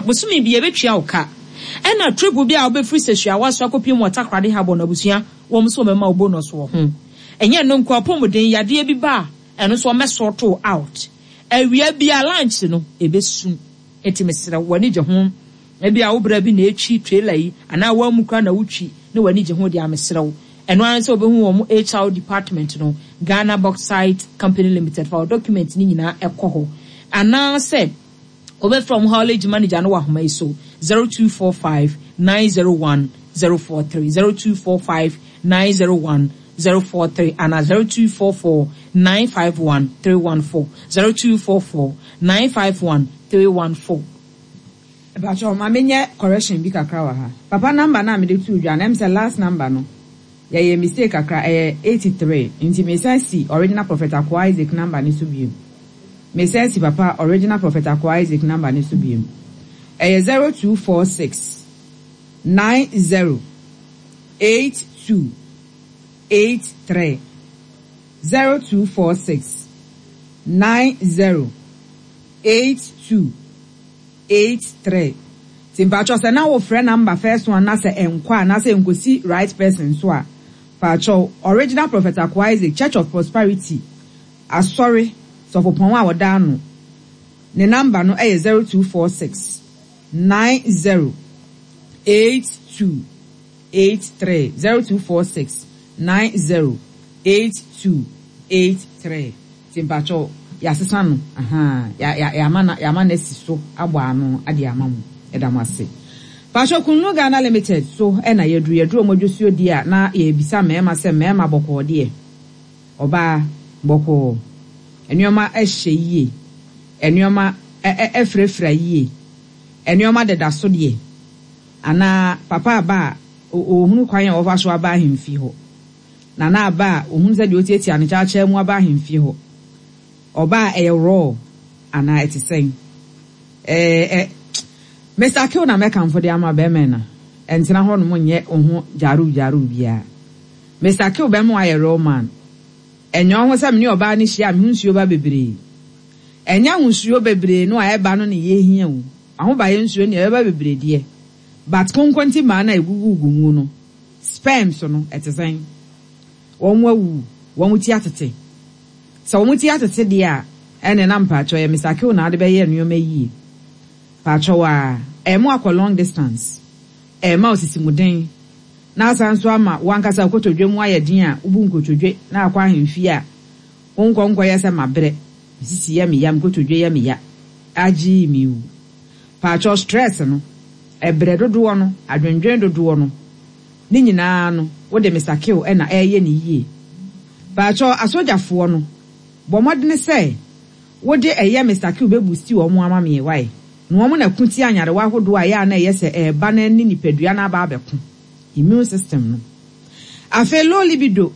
Bosome bi yɛbɛtua wo ka. Ɛna trip bi a wobɛfiri Sɛhyiawa so akɔpiem wɔ Takoradi Harbour no abusua wɔn nso wɔbɛma wo bonus wɔ ho. Ɛnyɛ ɛno nko apɔmuden yadeɛ bi ba a ɛno nso wɔbɛ sort wo out. Awia biara lunch no ɛbɛsu. Enti mesrɛ wo w'ani gye ho? Ebia wo bra bi na ɛretwi trailer yi anaa woammu koraa na wotwi na w'ani gye ho deɛ a mesrɛ wo ɛno ara ne sɛ wobɛhu wɔn HR department no Ghana Bauxite Company Limited fa wo document no nyinaa kɔ hɔ anaasɛ Wobɛfrɛ wɔn haulage manager no wɔ ahoma yi so, 0245 901 043, 0245 901 043 anaa 0244 951 314, 0244 951 314. Mpakyɛw ma menyɛ correction bi kakra wɔ ha. Papa number no a mede too dwa no ɛm sɛ last number no yɛyɛɛ mistake kakra ɛyɛ 83 nti mesan si original prophet Akoa Isaac number no so bio. Mesan si papa original prophet Akoa Isaac number no so biom. Ɛyɛ 0246 90 82 83, 0246 90 82 83. Nti mpakyɛw sɛ na wo frɛ number first one na sɛ ɛnkɔ a anaasɛ ɛnkosi right person so a, pakyɛw original prophet Akoa Isaac Church of Prosperity Asɔre sɔfopɔn a ɔda ano, ne namba no yɛ 0246 90 82 83, 0246 90 82 83. Nti mpakyɛw yɛasesa no, ahaa, yɛ, yɛ, yɛama no, yɛama no asi so abɔ ano de ama mo. Yɛda mo ase. Mpakyɛw Kunnu Ghana Limited so na yɛaduru. Yɛduru wɔn adwosuo die a, na yɛrebisa mmarima sɛ mmarima bɔkɔɔ deɛ. Ɔbaa, bɔkɔɔ. Nneɛma hyɛ yie. Nneɛma firafira yie. Nneɛma deda so deɛ. Anaa papa aba a, ɔhunu kwan a wɔfa so aba ahemfie hɔ. Nana aba a, ɔhunu sɛdeɛ ɔtiatia ne kyaakyaa mu aba ahemfie hɔ. Ɔba a, ɛyɛ raw anaa ɛte sɛn? Ɛɛ, Mister Kill na mɛkamfo de ama bɛrima na ɛntena hɔnom nyɛ wo ho gyaruw gyaruw biara. Mister Kill bɛma wayɛ real man. Ɛnyɛ ɔho sɛ mene ɔbaa no hyia a me ho nsuo ba bebree. Ɛnyɛ ahosuo bebree no a ɛba no na yɛhia o. Ahobayɛ nsuo no deɛ ɛbɛba bebree deɛ but konkonti mmaa no a ɛgugugugu mu no, sperms no, ɛte sɛn? Wɔn awuwu? Wɔn ti atete? Sɛ wɔn ti atete deɛ a, ɛne na mpakyɛw ɛyɛ Mister Kill na wode bɛyɛ nnoɔma yie. Pakyɛw aa, ɛma wakɔ long distance, ɛma osisimuden. Na asan nso ama wo ankasa wo kotodwe mu ayɛ den a wubu nkotodwe na akɔ ahemfie a, wonkɔ nkɔyɛ sɛ mabrɛ, me sisi yɛ me ya, me kotodwe yɛ me ya, agyee me wu. Paatwɔ stress no, ɛbrɛ dodoɔ no, adwendwen dodoɔ no, ne nyinaa no wode mesakew na ɛreyɛ no yie. Paatwɔ asogyafoɔ no, bɔ mmɔdene sɛ wode ɛyɛ mesakew bɛ boosti wɔn ama me wai. Na wɔn na ko tia nyarewa ahodoɔ a ɛyɛ a na ɛyɛ sɛ ɛreba na ɛne nipadua no aba abɛko, immune system no. Afei low libido,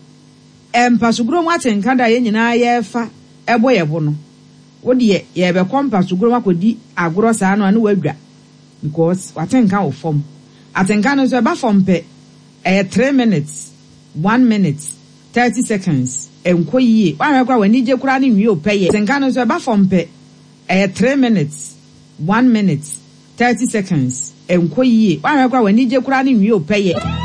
mpasogorɔ mu atenka da a yɛn nyinaa yɛrefa bɔ yɛn bo no, wo deɛ yɛrebɛkɔ mpasogorɔ mu akɔdi agorɔ saa no a na woadwa because w'atenka wɔ fam. Atenka no nso ɛba fam pɛ, ɛyɛ three minutes, one minute, thirty seconds, ɛnkɔ yie. Woanhwɛ koraa a w'anigye koraa no nwie wo pɛyɛ. Atenka no nso ɛba fam pɛ, Ɛyɛ three minutes, one minute, thirty seconds, ɛnkɔ yie, woanhwɛ koraa w'anigye koraa no nwie wo pɛyɛ.